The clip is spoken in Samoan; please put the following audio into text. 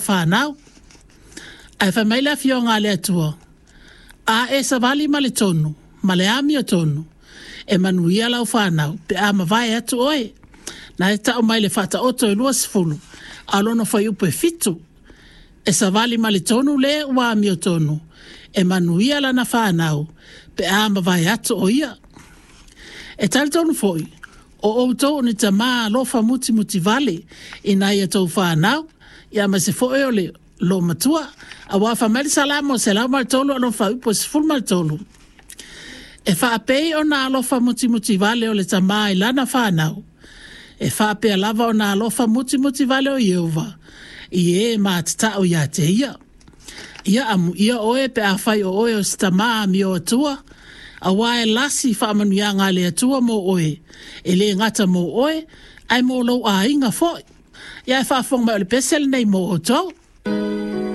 fanau. Ae fai mai le Afioga a le Atua, A e savali ma le tonu, ma le amiotonu, e manuia lau fanau pe a mavae atu oe. Na e tau mai le Faataoto e 20, a o lona fuaiupu e 7. E savali ma le tonu le ua amiotonu, e manuia lana fanau pe a mavae atu o ia. E talitonu foi, o outou o ni tamā alofa mutimuti vale i nai a outou fanau, aemaise foi o le loomatua. Aua fai mai le Salamo 103 a o lona fuaiupu e 13, E faapei ona alofa mutimuti vale o le tamā i lana fanau, e faapea lava ona alofa mutimuti vale o Ieova i e matatao ia te ia. Ia amuia oe pe afai o oe o se tamā amio atua, auā e lasi faamanuiaga a le Atua mō oe, e le gata mō oe, ae mō lou aiga foi. Ia ae faafofoga mai o le pese lenei mo outou.